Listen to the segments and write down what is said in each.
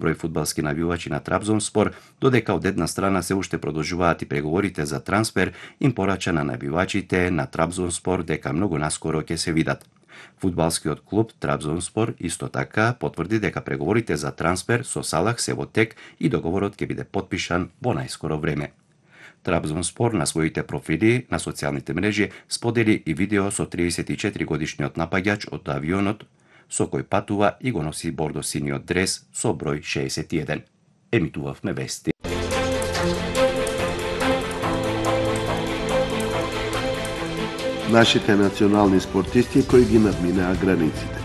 број фудбалски навивачи на Трабзонспор, додека од една страна се уште продолжуваат и преговорите за трансфер, им порача на навивачите на Трабзонспор дека многу наскоро ќе се видат. Фудбалскиот клуб Трабзонспор исто така потврди дека преговорите за трансфер со Салах се во тек и договорот ќе биде потпишан во најскоро време. Трабзонспор на своите профили на социјалните мрежи сподели и видео со 34 годишниот напаѓач од авионот со кој патува и го носи бордо синиот дрес со број 61. Емитувавме вести. Нашите национални спортисти кои ги надминаа границите.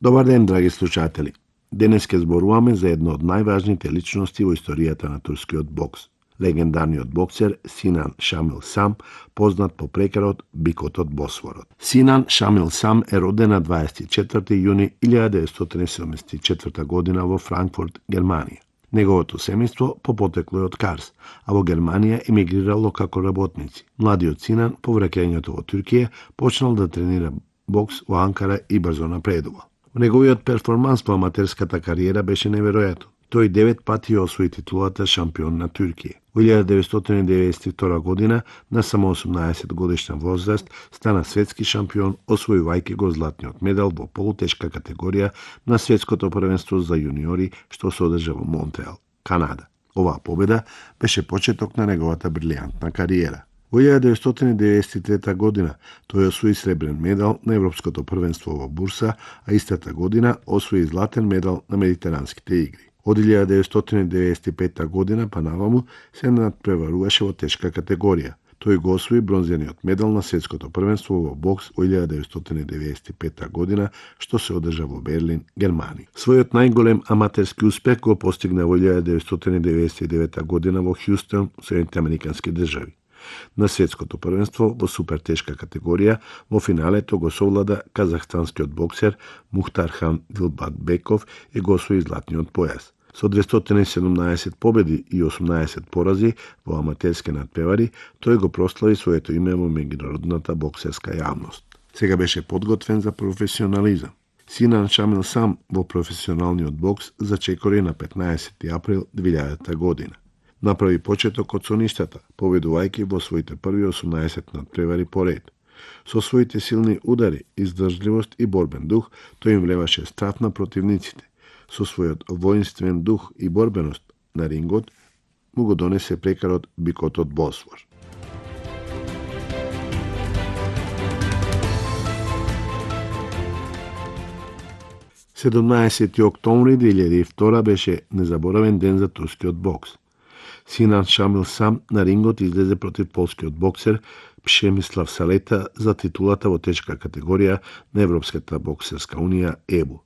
Добар ден, драги слушатели. Денес ќе зборуваме за едно од најважните личности во историјата на турскиот бокс. Легендарниот боксер Синан Шамил Сам, познат по прекарот Бикот од Босфорот. Синан Шамил Сам е роден на 24 јуни 1974 година во Франкфурт, Германија. Неговото семејство по потекло е од Карс, а во Германија емигрирало како работници. Младиот Синан по враќањето во Туркија почнал да тренира бокс во Анкара и брзо напредувал. Неговиот перформанс по аматерската кариера беше неверојатен. Тој 9 пати освои титулата шампион на Туркија. Во 1992 година, на само 18 годишна возраст, стана светски шампион, освојувајќи го златниот медал во полутешка категорија на светското првенство за јуниори што се одржа во Монтреал, Канада. Оваа победа беше почеток на неговата брилијантна кариера. Во 1993 година тој освои сребрен медал на Европското првенство во Бурса, а истата година освои златен медал на Медитеранските игри. Од 1995 година па наваму се надпреваруваше во тешка категорија. Тој го освои бронзениот медал на светското првенство во бокс во 1995 година, што се одржа во Берлин, Германија. Својот најголем аматерски успех го постигна во 1999 година во Хјустон, Соединените Американски држави. На светското првенство во супертешка категорија во финалето го совлада казахстанскиот боксер Мухтархан Дилбакбеков и го освои златниот појас. Со 217 победи и 18 порази во аматерски надпревари, тој го прослави своето име во меѓународната боксерска јавност. Сега беше подготвен за професионализам. Синан Шамил Сам во професионалниот бокс зачекори на 15 април 2000 година. Направи почеток од соништата, победувајќи во своите први 18 надпревари поред. Со своите силни удари, издржливост и борбен дух, тој им влеваше страв на противниците. Со својот воинствен дух и борбеност на рингот, му го донесе прекарот Бикот од Босфор. Седумнаесети октомври 2002 беше незаборавен ден за турскиот бокс. Синан Шамил Сам на рингот излезе против полскиот боксер Пшемислав Салета за титулата во тешка категорија на Европската боксерска унија ЕБУ.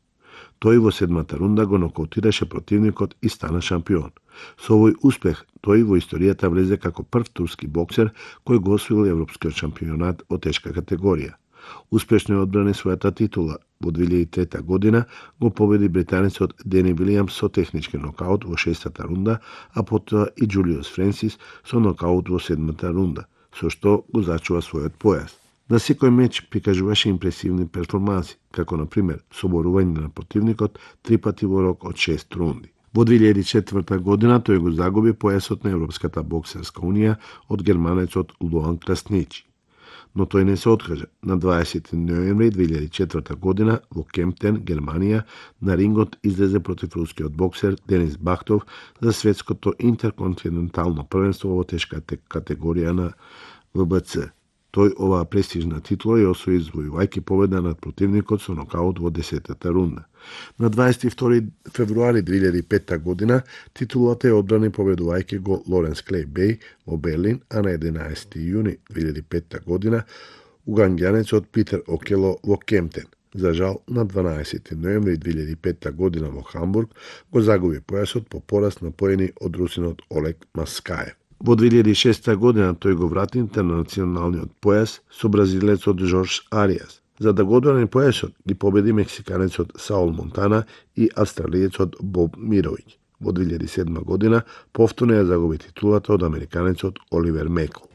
Тој во седмата рунда го нокаутираше противникот и стана шампион. Со овој успех тој во историјата влезе како прв турски боксер кој го освоил Европскиот шампионат во тешка категорија. Успешно ја одбрани својата титула. Во 2003 година го победи британецот Дени Вилијамс со технички нокаут во 6-та рунда, а потоа и Џулиус Френсис со нокаут во 7-та рунда, со што го зачува својот појас. На секој меч прикажуваше импресивни перформанси, како на пример соборување на противникот 3 пати во рок од 6 рунди. Во 2004 година тој го загуби појасот на Европската боксерска унија од германецот Луан Красничи. Но тој не се откажа. На 20 ноември 2004 година во Кемптен, Германија, на рингот излезе против рускиот боксер Денис Бахтов за светското интерконтинентално првенство во тешка категорија на ВБЦ. Тој оваа престижна титула ја освои извојувајќи победа над противникот со нокаут во 10-та рунда. На 22 февруари 2005 година титулата ја одбрани победувајќи го Лоренс Клей Беј во Берлин, а на 11 јуни 2005 година уганѓанецот Питер Окело во Кемптен. За жал, на 12 ноември 2005 година во Хамбург го загуби појасот по пораз на поени од русинот Олег Маскаев. Во 2006 година тој го врати интернационалниот појас со бразилецот Жорж Ариас. За да го одбрани појасот ги победи мексиканецот Саул Монтана и австралиецот Боб Мировиќ. Во 2007 година повторно ја загуби титулата од американецот Оливер Мекл.